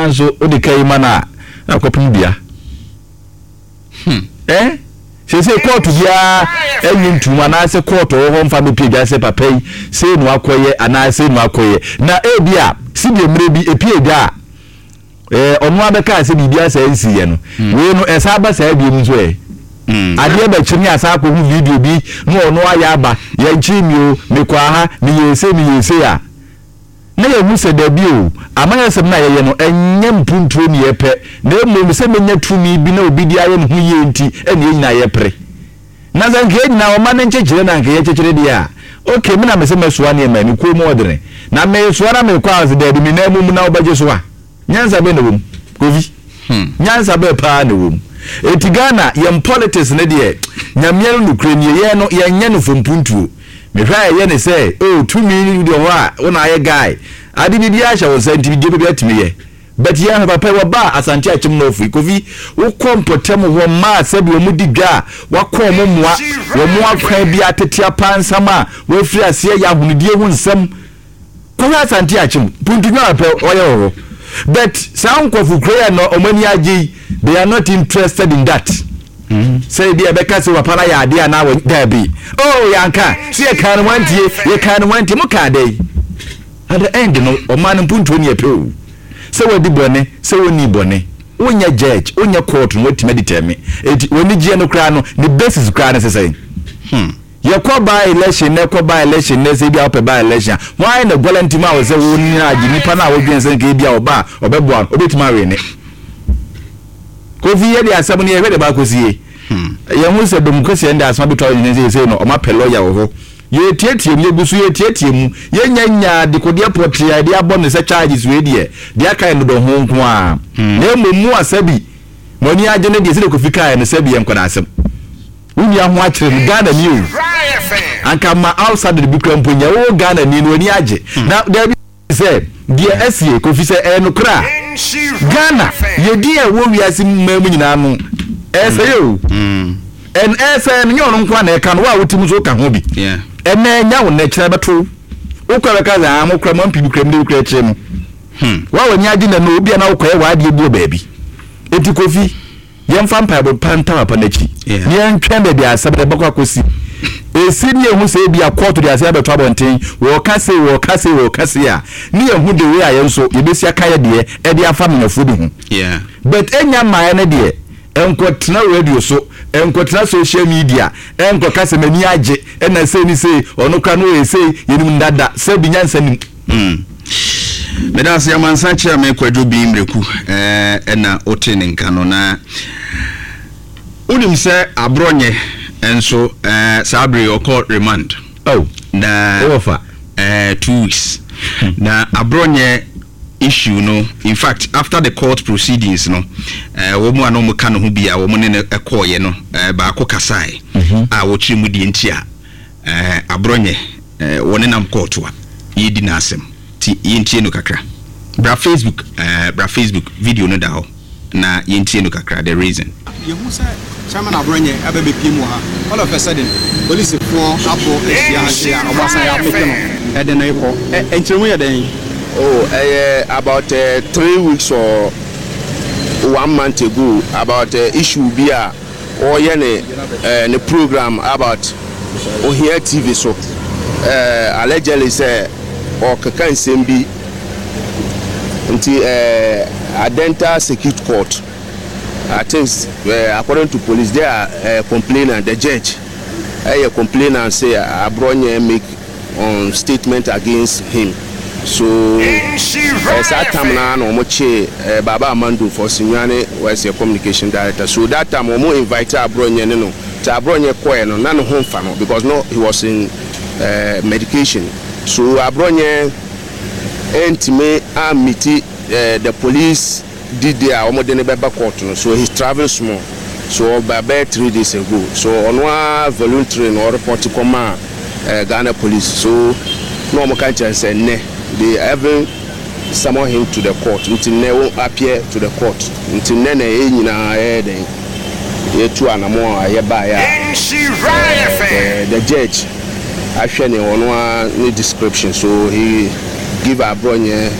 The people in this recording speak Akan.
Naa nso wode ka yi ma no a, na akɔpem dua. Eh? Seesei kɔɔto biara nnye ntom anaasɛ kɔɔto wɔ hɔ mfa mmepie dwa sɛ papa yi sei na wakɔyɛ anaa sei na wakɔyɛ. Na ebia sɛdeɛ mmerɛ bi epie dwa a eh, ɔno ara bɛkaa sɛ biribi asaa nsiiɛ no, wei no ɛsan ba saa biom nso ɛ. Adeɛ bɛkye ne asan akɔhu video bi na ɔno ayɛ aba, yɛnkyee me o, mekɔɔ aha, meyɛɛ sei, meyɛɛ sei a. Na yɛahu sɛ dabi o, amanyɔsɛm no a yɛyɛ no, ɛnyɛ mpuntuo ne yɛpɛ, na mmom sɛ mɛnya tumi bi na obi de ayɛ ne ho yie nti na yɛn nyinaa yɛpere. Na sɛ anka yɛn nyinaa ɔma no nkyekyere na anka yɛkyekyere deɛ a, ok, me na mese mɛsoa nneɛma yi, me kɔn mu ɔdene, na meresoa na merekɔ a, ɔse daabi, me nan mu na wobɛgye so a. Nyansa bɛn na ɛwɔ mu? Kofi, nyansa bɛn paa na ɛwɔ mu? Enti Ghana, yɛn politics no deɛ, Nyame no nokorɛ nie, yɛn no, yɛnyɛ no for mpuntuo. Mehwɛ a ɛyɛ ne sɛ, oh, tumi deɛ wɔ hɔ a, wo na ayɛ guy, ade biribiara hyɛ wo nsa nti deɛ wopɛ biara tumi yɛ. But yɛn hwɛ papa yi, wɔbaa Asante Akyem North yi, Kofi, wokɔ mpɔtam hɔ mmaa sɛdeɛ wɔn di dwa a, wakɔ wɔn mmoa, wɔn akwan bi atete apansam a, wɔafiri aseɛ yɛ ahonidie ho nsɛm. Kɔhwɛ Asante Akyem, Puntunyo a pɛ ɔyɛ wɔ hɔ. But saa nkurɔfo kuro yɛ no wɔn ani agye yi, they are not interested in that. Sɛ ebi a ɛbɛka sɛ papa no ayɛ adeɛ anaa wɔ daabi. Oh yɛanka, sɛ yɛkaa no wantie, yɛkaa no wantie, mo kaa dɛn? At the end no, ɔman no mpuntuo ne yɛpɛ o. Sɛ wadi bɔne, sɛ wɔnni bɔne, wonyɛ judge, wonyɛ court no watumi adetermine. Eti wɔn anigyeɛ no koraa no, ne basis koraa no sɛ sɛn? Yɛkɔ by election nɛ kɔ by election nɛ sɛ ebia wopɛ by election a hwan na guarantee ma wo sɛ wo nyina agye nipa no a wodwen sɛ nka ebia ɔba a ɔbɛboa no obetumi awe ne Kofi yɛ de asɛm no yɛhwɛ de ba akɔsie yɛn ho sɛ dom kɛseɛ de asɛm abɛtɔ ayɛ sɛ yɛsei no ɔma pɛ lɔya wɔ hɔ yɛtiatia mu yɛgu so yɛtiatia mu yɛnya nyaa dekodeɛ pɔtee a yɛde abɔ no sɛ charges wei deɛ deɛ aka yɛ dodɔ ho nko a na mmom mu asɛ bi mo ani agye ne deɛ sɛdeɛ Kofi kaeɛ no sɛ bi yɛ nkwadaa asɛm. Wo nua ho akyere no, Ghana ni o. Anka ma outsider bi kura mpo nyɛ wo Ghana ni no w'ani agye. Na dabi sɛ deɛ asie Kofi sɛ ɛyɛ nokorɛ a Ghana yɛ din a ɛwɔ wiase mmaa mu nyinaa no ɛsɛe o. Ɛn ɛsɛe no nyɛ ɔno nko a na ɛka no wo a wote mu nso woka ho bi. Ɛnɛ ɛnya wo nnɛ kyerɛ bɛto wo. Wokɔ bɛka sɛ ah mo kura mo ampi bi kura mu de bi kura akyire no. Wo a w'ani agye nnɛ no obia na wokɔyɛ w'adeɛ bi wɔ baabi. Enti Kofi. Yɛmfa mpaebɔ pa ntaa papa no akyi, na yɛntwɛn baabi a asɛm no bɛkɔ akɔsi. Esi ne yɛhu sɛ ebia kɔɔto de asɛm abɛto abɔnten, wɔreka sei, wɔreka sei, wɔreka sei a, ne yɛhu the way a yɛn nso yɛbɛsi aka yɛ deɛ de afa amenafoɔ bi ho. But ɛnnya mmaeɛ no deɛ, nkɔtena radio so, nkɔtena social media, nkɔka sɛ m'ani agye, ɛna sei ne sei, ɔno koraa no ɔyɛ sei, yɛnim no dada, sɛbi nyansa nnim. Mm. Meda ase amansan kyerɛ me Kwadwo Bin Mreku ɛna wote ne nka no na wonim sɛ aborɔnyɛ nso saa bere ɔkɔ remand. Oh. Na wɔfa 2 weeks. Na aborɔnyɛ issue no, in fact, after the court proceedings no, wɔn a na wɔn ka ne ho bi a wɔn ne no kɔɔyɛ no, baako kasae a wɔkyerɛ mu deɛ nti a aborɔnyɛ wɔnenam kɔɔto a yɛredi n'asɛm nti yɛntie no kakra. Bra Facebook, bra Facebook, video no da hɔ na yɛntie no kakra, the reason. Yɛhu sɛ Chairman Aborɔnyɛ aba bɛpiem wɔ ha, all of a sudden polisifoɔ abɔ ahyia ha sei a wɔn asan apeke no de no rekɔ. Nkyerɛmu yɛ dɛn? Oh ɛyɛ about 3 weeks or one month ago about issue bi a ɔreyɛ ne ne program about Ohia TV so, allegedly sɛ ɔrekeka nsɛm bi nti Adenta Circuit Court, I think according to police they are complainant, the judge ɛyɛ complainant sɛ Aborɔnyɛ make on statement against him, so saa time no ara na wɔn kyee Baba Amando for Sunyani was a communication director, so that time wɔn invite Aborɔnyɛ ne no, nti Aborɔnyɛ kɔɛ no na ne ho nfa no because no he was in medication, so Aborɔnyɛ ɛntumi ammiti the police di day a wɔde no bɛba court no, so he travel small, so ɔba bɛyɛ 3 days ago, so ɔno ara voluntary na ɔreport kɔmaa Ghana Police, so na wɔn ka nkyɛn sɛ nnɛ they even summon him to the court, nti nnɛ wɔn appear to the court, nti nnɛ na yɛn nyinaa yɛyɛ dɛn yɛtu anamo a yɛbaeɛ a the judge ahwɛ ne ɔno ara ne description, so he give Aborɔnyɛ.